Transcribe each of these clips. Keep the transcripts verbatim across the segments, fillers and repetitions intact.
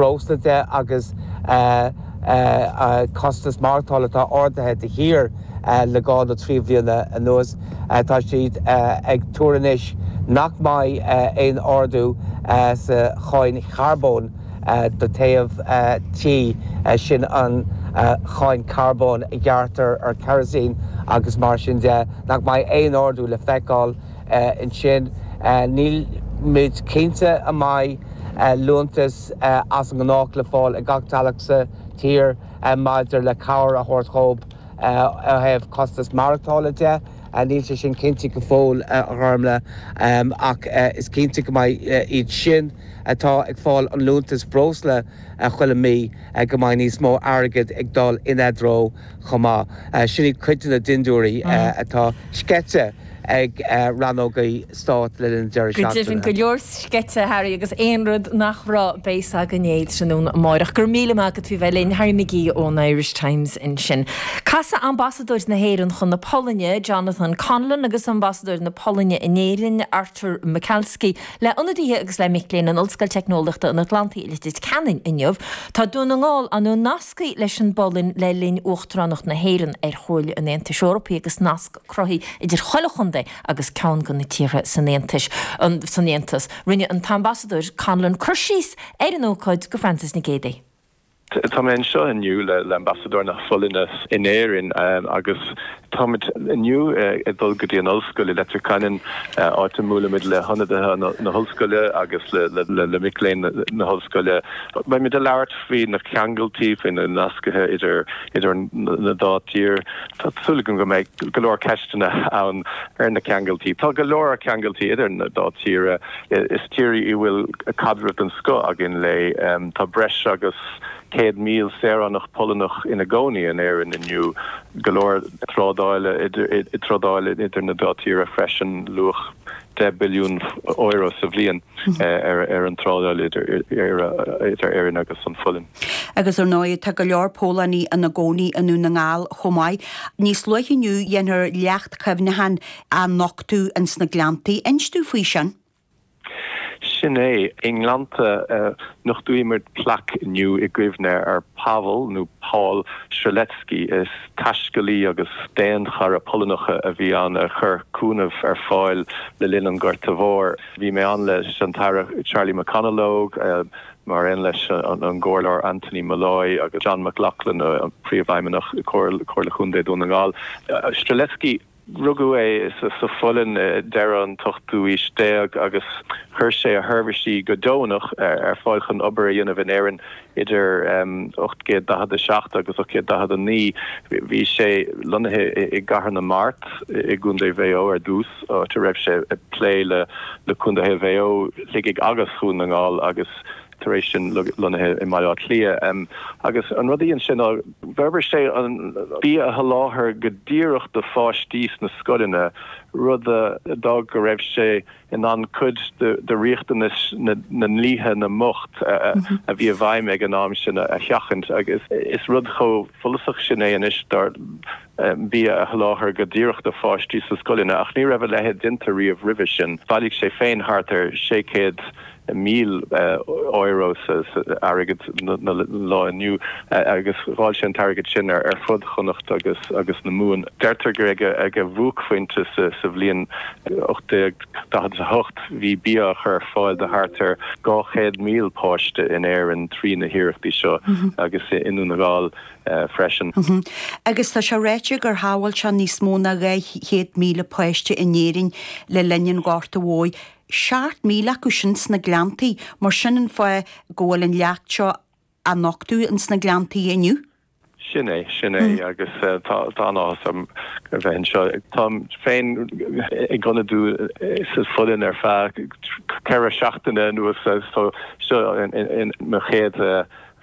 breosla de agus costas maireachtála atá ardaithe de shíor le dhá nó trí bliana anuas. Tá siad ag tuar anois nach mbeidh aon ardú sa cháin charbóin do théamh tí, sin an cháin carbóin a ghearrtar ar kerosene agus mar sin de, nach mbeidh aon ardú le feiceáil ansin. Nílimid cinnte an mbeidh liúntas as an ngnách le fáil ag gach teaghlach sa tír maidir le cabhair a thabhairt dóibh ó thaobh costas maireachtála de. Níl sé sin cinnte go fóill, a Ghormfhlaith, ach is cinnte go mbeidh iad sin atá ag fáil an liúntas breosla chuile mí go mbeidh níos mó airgid ag dul ina dtreo chomh maith. Sin iad cuid de na dindiúirí atá sceite ag rannógaí stáit le linn an deireadh Go deimhin seachtaine. go leor sceite, Harry, agus aon rud nach raibh beidh againn é tráthnóna amárach. Go raibh míle maith agat faoi bheith linn, Harry McGee ón Irish Times ansin. Casfaidh ambasadóir na hÉireann chun na Polainne, Jonathan Conlon, agus ambasadóir na Polainne in Éirinn, Artur Michalski, le ionadaithe agus le mic léinn in Ollscoil Teicneolaíochta an Atlantaigh i Leitir Ceanainn inniu. Tá Dún na nGall á nascadh leis an bPolainn le linn Uachtaránacht na hÉireann ar Chomhairle an Aontais Eorpaigh agus nasc cruthaithe idir chuile chontae agus ceann de na tíortha san Aontais an san Aontas. Rinne an t-ambasadóir Conlon cur síos ar an ócáid go Francis Nic Géadaigh. Tá mé anseo inniu le le ambasadóir na Polainne in Éirinn agus táimid inniu ag dul go dtí an ollscoil i Leitir Ceanainn, áit a mbuailfimid le hionadaithe na hollscoile agus le le le mic léinn na hollscoile. Beimid ag labhairt faoi na ceangaltaí, faoi na nascaithe idir idir na dá tír. Tá súil agam go mbeidh go leor ceisteanna ann ar na ceangaltaí. Tá go leor ceangaltaí idir na dá tíre. Is tír í a bhfuil caidreamh den scoth againn léi. Tá breis agus céad míle saoránach Polannach ina gcónaí in Éirinn inniu, go leor trádála trádáil idir na dá tíre freisin, luach deich billiún euro sa bhliain ar ar an trádáil idir idir Éirinn agus an Pholainn. Agus ar ndóigh tá go leor Polannaigh ina gcónaí i nDún na nGall chomh maith. Níos luaithe inniu déanfar leacht cuimhneacháin a nochtadh ins na Gleanntaí. Inis dúinn faoi sin. Sin é, i nGleannta nochtóimid plaic inniu i gcuimhne ar Pavel nó Paul Strzelecki. Is taiscéalaí agus daonchara Polannach a bhí ann a chuir cúnamh ar fáil le linn an Ghorta Mhóir. Bhí mé ann leis an tAire Charlie McConalogue, mar aon leis an gComhairleoir Anthony Molloy agus John McLaughlin, an príomhfheidhmeannach Comhairle Chontae Dhún na nGall. Strzelecki, rugadh é sa Pholainn deireadh an t-ochtú aois déag agus chuir sé a sheirbhísí go deonach ar fáil chun obair a dhéanamh in Éirinn idir ocht gcéad daichead a seacht agus ocht gcéad daichead a naoi. Bhí sé lonnaithe i gCathair na Mart i gContae Mhaigh Eo ar dtús, áit a raibh sé ag plé le le Contaetha Mhaigh Eo, Shligigh agus Dhún na nGall agus tar éis sin lonnaithe i mBaile Átha Cliath. Agus an rud a dhein sé ná d'fhorbair sé an bia a sholáthar go díreach do pháistí sna scoileanna, rud a d'fhág go raibh sé in ann cuid de riachtanais na ndlíthe na mbocht a bhí i bhfeidhm ag an am sin a sheachaint. Agus is rud chomh follasach sin é anois dar bia a sholáthar go díreach do pháistí sa scoileanna, ach ní raibh a leithéid déanta riamh roimhe sin. Bhailigh sé féin thart ar sé chéad míle euro sa airgead na lá inniu agus dháil sé an t-airgead sin ar fud Chonnacht agus agus na Mumhan. Deirtear gur ag ag a bhuaicphointe sa sa bhliain ocht déag daichead a hocht bhí bia á chur ar fáil do thart ar dhá chéad míle páiste in Éirinn trí na hiarrachtaí seo agus i nDún na nGall freisin. Agus tá sé ráite gur shábháil sé níos mó ná dhá chéad míle páiste in Éirinn le linn an Ghorta Mhóir. Seacht míle acu sin sna Gleanntaí, mar sin an fáth go bhfuil an leacht seo á nochtadh ins na Gleanntaí inniu. Sin é, sin é agus tá tá an-áthas orm a bheith anseo. Táim féin ag ionadú sa Pholainn ar feadh ceithre seachtaine anuas so seo mo chéad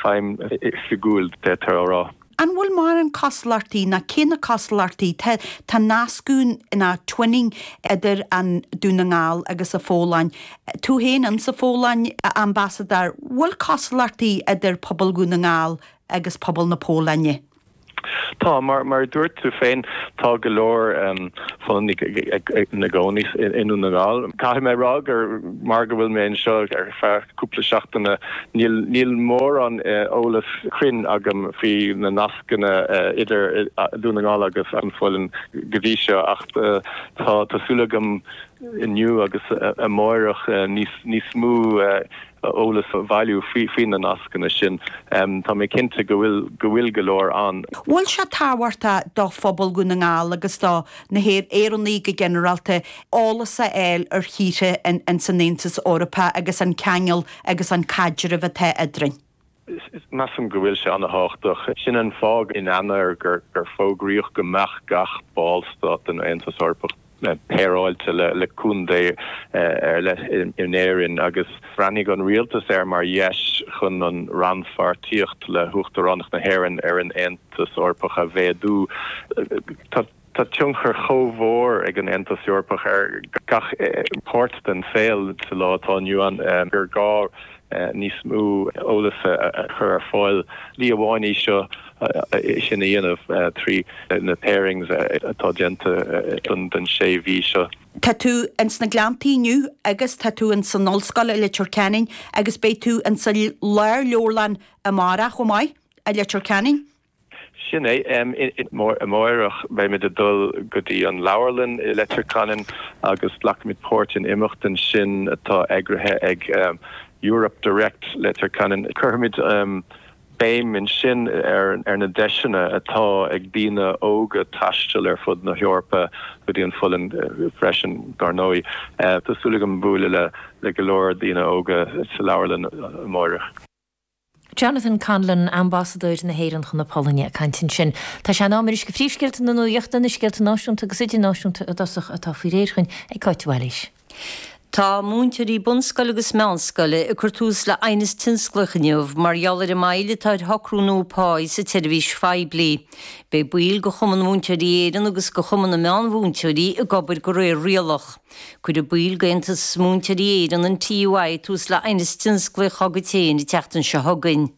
feidhm oifigiúil, d'fhéadfá a rá. An bhfuil mórán cosúlachtaí ná cé na cosúlachtaí tá tá nascadh ná twinning idir an Dún na nGall agus an Pholainn. Tú féin in sa Pholainn, a ambasadóir, bhfuil cosúlachtaí idir pobal Dhún na nGall agus pobal na Polainne? Tá mar mar dúirt tú féin tá go leor Pholannaigh ina gcónaí i nDún na nGall. Caithfidh mé rá gur mar go bhfuil mé anseo ar feadh cúpla seachtaine níl níl mórán eolas cruinn agam faoi na nascanna idir Dún na nGall agus an Pholainn go dtí seo ach tá tá súil agam inniu agus amárach níos níos mó eolas a bhailiú faoi faoi na nascanna sin. Tá mé cinnte go bhfuil go bhfuil go leor ann. Bhfuil sé tábhachtach do phobal Dhún na nGall agus do na hÉireannaigh go ginearálta eolas a fháil ar thíortha in san Aontas Eorpach agus an ceangal agus an caidreamh atá eadrainn? Measaim go bhfuil sé an-tábhachtach. Sin an fáth in Eanáir gur gur fógraíodh go mbeadh gach ballstát den Aontas Eorpach péireáilte le le contae ar leith in Éirinn agus bhreathnaigh an rialtas air mar dheis chun an rannpháirtíocht le hUachtaránacht na hÉireann ar an Aontas Eorpach a mhéadú. Tá tá tionchar chomh mór ag an Aontas Eorpach ar gach páirt den saol sa lá atá inniu ann gur gá níos mó eolas a chur ar fáil. Slí amháin í seo sin a dhéanamh trí na pairings atá déanta don sé mhí seo. Tá tú ins na Gleanntaí inniu agus tá tú ins an ollscoil i Leitir Ceanainn agus beidh tú ins an Lárleabharlann amárach chomh maith i Leitir Ceanainn. Sin é amárach beimid ag dul go dtí an leabharlann i Leitir Ceanainn agus glacfaimid páirt in imeacht ansin atá eagraithe ag Europe Direct Leitir Ceanainn. Cuirfimid béim ansin ar ar na deiseanna atá ag daoine óga taisteal ar fud na hEorpa go dtí an Pholainn freisin dar ndóigh. Tá súil agam bualadh le le go leor daoine óga sa leabharlann amárach. Jonathan Conlon, Ambasadóir na hÉireann chun na Polainne ag caint ansin. Tá sé in am anois do phríomhscéalta na nuachta, na scéalta náisiúnta agus idirnáisiúnta i dtosach atá faoi réir againn ag Cáit Bhailís. Tá múinteoirí bunscoile agus meánscoile ag cur tús le aighneas tionsclaíoch inniu mar gheall ar an moill atá ar shocrú nua páí sa tseirbhís phoiblí. Beidh baill de Chumann Múinteoirí Éireann agus de Chumann na Meánmhúinteoirí ag obair de réir rialach. Cuirfidh baill d'Aontas Múinteoirí Éireann an TUI tús le aighneas tionsclaíoch dá gcuid féin an tseachtain seo chugainn.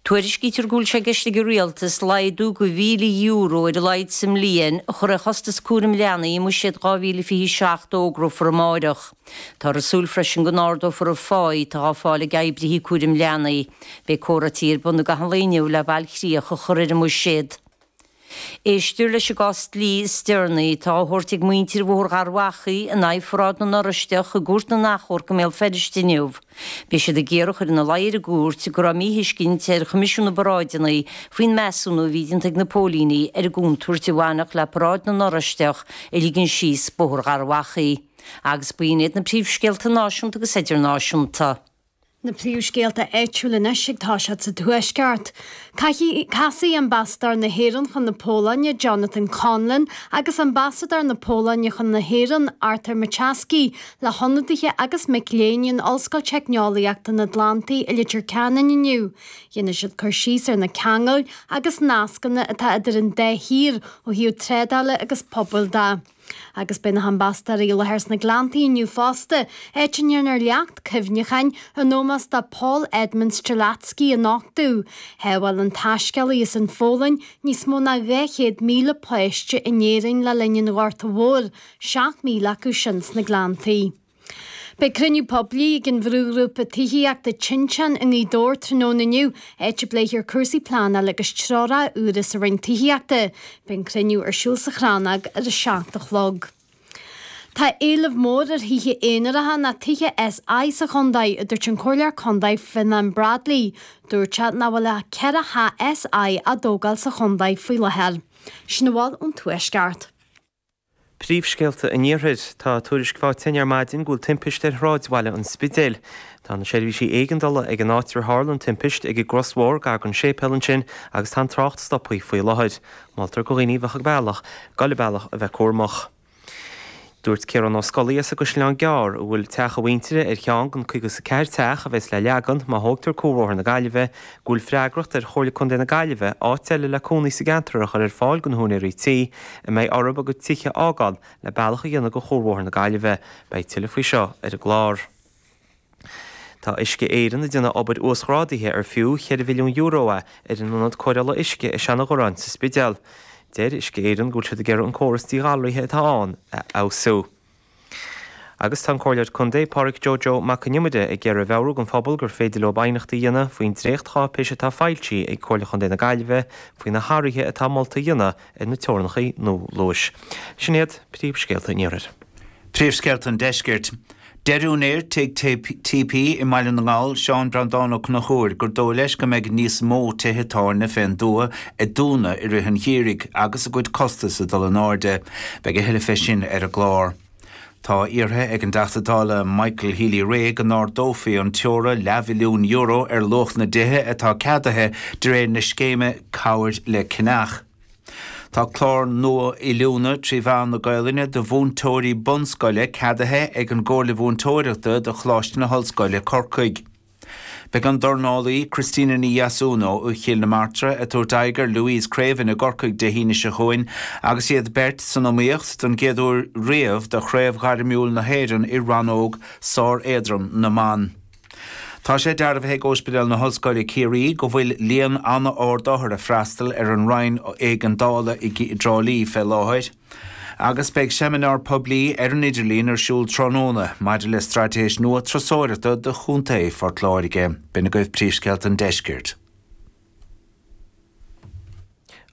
Tuairiscítear go bhfuil sé i gceist ag an rialtas laghdú de mhíle euro ar a laghad sa mbliain a chur ar chostas cúraim leanaí i mbuiséad dhá mhíle fiche seacht a fhógrófar amárach. Táthar ag súil freisin go n-ardófar an phá atá á fáil ag oibrithe cúraim leanaí. Beidh comhráití ar bun i gcaitheamh an lae inniu le bailchríoch a chur ar an mbuiséad. Éistear leis an gcás dlí is deireanaí atá á thabhairt ag muintir Bhóthar Gharbhachaidh in aghaidh Pharáid na nOráisteach i gCúirt na nAchomharc i mBéal Feirste inniu. Beidh siad ag iarraidh a chur ina luí ar an gcúirt go raibh míthuiscint ar Choimisiún na bParáideanna faoin measúnú a bhí déanta ag na póilíní ar an gcontúirt a bhainfeadh le Paráid na nOráisteach a ligean síos Bóthar Gharbhachaidh. Agus b'in iad na príomhscéalta náisiúnta agus idirnáisiúnta. Na príomhscéalta áitiúla anois ag toiseacht sa Tuaisceart. Casfaidh Ambasadóir na hÉireann chun na Polainne, Jonathan Conlon, agus Ambasadóir na Polainne chun na hÉireann, Artur Maciejewski, le hionadaithe agus mic léinn in Ollscoil Teicneolaíochta na Atlantaí i Leitir Ceanainn inniu. Dhéanfaidh siad cur síos ar na ceangail agus nascanna atá idir an dá thír ó thaobh trádála agus pobail de. Agus beidh na hambasadóirí i láthair sna Gleanntaí inniu fosta, áit a ndéanfar leacht cuimhneacháin in ómós do Paul Edmund Strzelecki a nochtadh. Shábháil an taiscéalaí as an Pholainn níos mó ná dhá chéad míle páiste in Éirinn le linn an Ghorta Mhóir, seacht míle acu sin sna Gleanntaí. Beidh cruinniú poiblí ag an bhrúghrúpa tithíochta Tinteán i nGaoth Dobhair tráthnóna inniu, áit a bpléifear cúrsaí pleanála agus treoracha úra sa Roinn Tithíochta. Beidh an cruinniú ar siúl sa Chrannóg ar a seacht a chlog. Tá éileamh mór ar thithe aonaracha nó tithe SI sa chontae, a dúirt an Comhairleoir Contae Fionán Bradley. Dúirt sé nach bhfuil ach ceithre theach SI á dtógáil sa chontae faoi láthair. Sin a bhfuil ón Tuaisceart. Príomhscéalta an Iarthair. Tá tuairisc faighte ar maidin go bhfuil timpiste ar shráidbhaile an Spidéil. Tá na seirbhísí éigeandála ag an áit ar tharla an timpist ag an gcrosbhóthar gar don séipéal ansin agus tá an trácht stoptha faoi láthair. Moltar do dhaoine a bheadh ag bealach, dul an bealach a bheith cúramach. Dúirt Ciarán Ó Scolaí as an gCaisleán Gearr, a bhfuil teach a mhuintire ar cheann den caoga is a ceathair teach a bheas le leagan má thógtar Cuarbhóthar na Gaillimhe, go bhfuil freagracht ar Chomhairle Contae na Gaillimhe áit eile le cónaí sa gceantar a chur ar fáil do na húinéirí tí a mbeidh orthu a gcuid tithe a fhágáil le bealach a dhéanamh go Chuarbhóthar na Gaillimhe. Beidh tuilleadh faoi seo ar an gclár. Tá Uisce Éireann ag déanamh obair uasghrádaithe ar fiú cheithre mhilliún euro é ar an ionad cóireála uisce i Seanadh-Ghorráin sa Spidéal. Deir Uisce Éireann go bhfuil siad ag iarraidh an córas díghalraithe atá ann a fheabhsú. Agus tá an Comhairleoir Contae Pádraig Joe Joe Mac Con Iomaire ag iarraidh a mheabhrú don phobal gur féidir leo aighneachtaí a dhéanamh faoin dréachtcháipéis atá foilsithe ag Comhairle Chontae na Gaillimhe faoi na hathruithe atá molta a dhéanamh ar na teorainneacha nua luais. Sin iad príomhscéalta an Iarthair. Príomhscéalta an Deiscirt. Deir úinéir Tigh T P i mBaile na nGall, Seán Breandán Ó Conchúir, gur dóigh leis go mbeidh níos mó tithe tábhairne fén dtuath ag dúnadh i rith an gheimhridh agus a gcuid costas ag dul in airde. Beidh a thuilleadh fé sin ar an gclár. Tá iarrtha ag an dTeachta Dála Michael Healy-Rae go n-ardófaí an teora leathmhilliún euro ar luach na dtithe atá ceadaithe de réir na scéime Cabhair le Ceannach. Tá clár nua oiliúna trí mheán na Gaelainne do mhúinteoirí bunscoile ceadaithe ag an gComhairle Mhúinteoireachta do Choláiste na hOllscoile Corcaigh. Beidh an dornálaí Christina Ní Dheasúna ó Chill na Martra ag tabhairt aghaidh ar Louise Craven i gCorcaigh Dé hAoine seo chugainn agus iad beirt san iomaíocht don gcéad uair riamh do chraobh ghairmiúil na hÉireann i rannóg sár-éadrom na mban. Tá sé dearbhaithe ag Ospidéal na hOllscoile Ciarraí go bhfuil líon an-ard othar ag freastal ar an roinn éigeandála i dTrá Lí fé láthair. Agus beidh seimineár poiblí ar an idirlíon ar siúl tráthnóna maidir le straitéis nua turasóireachta do Chontae Phort Láirge. B'in agaibh príomhscéalta an Deiscirt.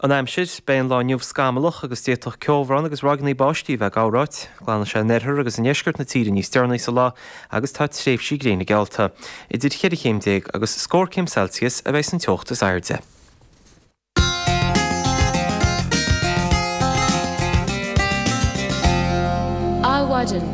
An aimsir, beidh an lá inniu scamallach agus d'fhéadfadh ceobhrán agus ráigeanna báistí a bheith ag gabhráit. Glanfaidh sé in oirthear agus i ndeisceart na tíre níos deireanaí sa lá agus tá tréimhsí gréine geallta. Idir cheithre chéim déag agus scór céim Celsius a bheidh san teocht is airde. Adhmhaidin.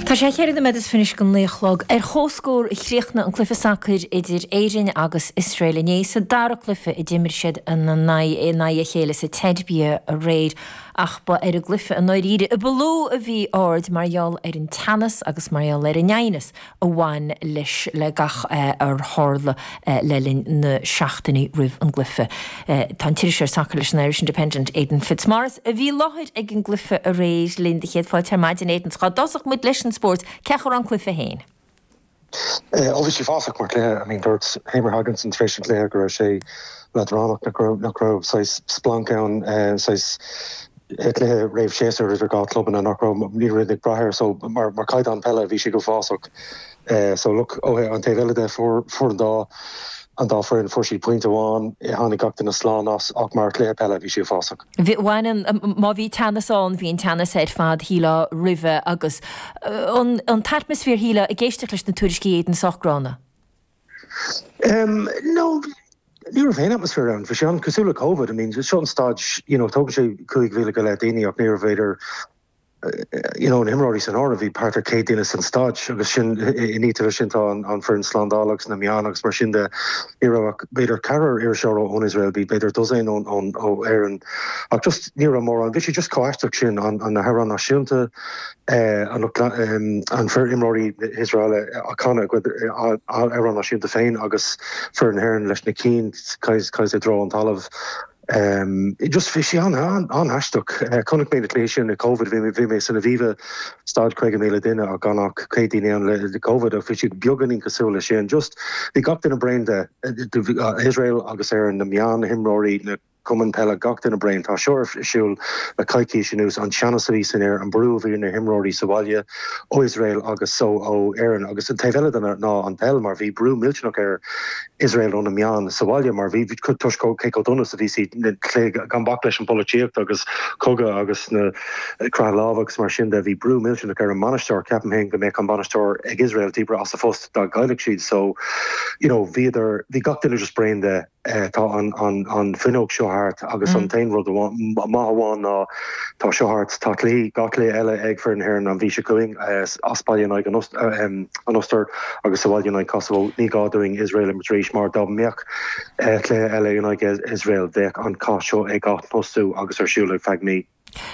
Tá sé cheithre nóiméad is fiche go naoi a chlog ar chomhscór a chríochnaigh an cluiche sacair idir Éirinn agus Iosrael inné sa dara cluiche a d'imir siad ina n-aghaidh a chéile sa tSeirbia aréir ach ba ar an gcluiche i ndáiríre a ba lú a bhí aird mar gheall ar an teannas agus mar gheall ar an aighneas a bhain leis le gach ar tharla le linn na seachtainí roimh an gcluiche. Tá an t-iriseoir sacair leis an Irish Independent Aidan Fitzmaurice a bhí i láthair ag an gcluiche aréir linn de chéad fáilte ar maidin Aidan dá dtosódh muid leis an spórt cén chaoi a raibh an cluiche féin. Ó bhí sé uafásach mar chluiche, I mean dúirt Heimir Hallgrímsson tar éis an chluiche go raibh sé leadránach nach raibh nach raibh saghas splanc ann saghas cluiche réamh séasúr idir dhá clubanna nach raibh ní raibh ag brath air so mar mar caighdeán peile bhí sé go huafásach. So look ó an taobh eile de fuair fuair an dá an dá foireann fuair siad pointe amháin tháinig gach duine slán as ach mar chluiche peile bhí sé uafásach. Bhí bhain má bhí teannas ann bhí an teannas ar fad shílfeá roimhe agus an an t-atmaisféar shílfeá ag éisteacht leis na tuairiscí Aidan sách gránna. Um, no, ní raibh aon atmaisféar ann, bhí sé an cosúil le COVID, I mean, seo an staid, you know, tógann sé cúig mhíle go leith daoine ach ní raibh b'fhéidir you know, na himreoirí san áireamh bhí thart ar céad duine san staid agus sin iníte sin tá an, an foireann slándála agus na meáin agus mar sin de ní raibh ach b'fhéidir ceathrar iriseoir ón Israel bhí b'fhéidir dosaen ón ón ó Éirinn ach just ní raibh mórán bhí sé just chomh aisteach sin an an na hamhráin náisiúnta eh, an um, an fir imreoirí Israel a chanadh amhrán náisiúnta féin agus fir na hÉireann leis na cinn cais cais i dtreo an talamh. Um, just bhí sé an an an-aisteach uh, chonaic mé na cluichí sin na COVID bhí bhí mé san Aviva staid caoga míle duine a gan ach céad duine ann le le COVID a bhí sé beagáinín cosúil le sin just bhí gach duine bréan de Israel agus ar na meáin na himreoirí na cumann peile gach duine bréan tá seo ar siúl le coicís anuas an teannas a bhí san aer an brú a bhí na himreoirí sa bhaile ó Israel agus so ó Éirinn agus an taobh eile den ná an peil mar bhí brú millteanach ar Israel ó na meáin sa bhaile mar bhí toisc cé chomh dona a bhí siad gan bac leis an polaitíocht agus cogadh agus na croitheadh lámh agus mar sin de bhí brú millteanach ar an mbainisteoir ceapaim féin go mbeadh an bainisteoir ag Israel díbrithe as a phost dá gcaillfeadh siad so you know bhíodar bhí gach duine just bréan de eh, tá an an an fuinneog seo thart agus an t-aon rud maith amháin ná tá seo thart tá cluichí gach cluiche eile ag foireann na hÉireann an mhí seo chugainn as baile in aghaidh an an Ostair agus sa bhaile in aghaidh Kosovo ní gá dúinn Israel imirt arís mar dá mbeadh cluiche eile in aghaidh Israel bheadh an cath seo ag atosú agus ar siúl ar feadh mí.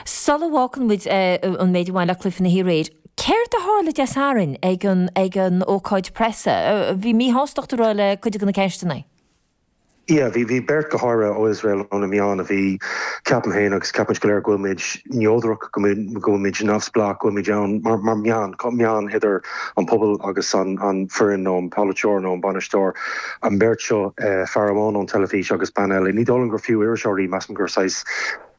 Sula bhfágann muid an méid a bhain le cluiche na haréir, Céard a tharla Dé Sathairn ag an ag an ócáid preasa? Bhí míshástacht a rá le cuid de na ceisteanna. Yeah, bhí bhí beirt go háirithe ó Iosrael ó na meáin a bhí ceapaim féin agus ceapaimid go léir go bhfuil muid neodrach go bhfuil muid neamhspleách go bhfuil muid ann mar mar meán meán idir an pobal agus an an foireann nó an polaiteoir nó an bainisteoir an beirt seo eh, fear amháin ón teilifís agus bean eile. Ní dóigh liom gur fiú iriseoirí measaim gur saghas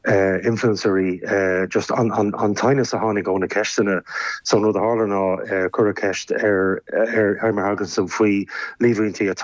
uh, influencerí uh, just an, an, an teannas a tháinig ó na ceisteanna so an rud a tharla ná uh, cuireadh ceist ar ar Heimir Hallgrímsson faoi líomhaintí atá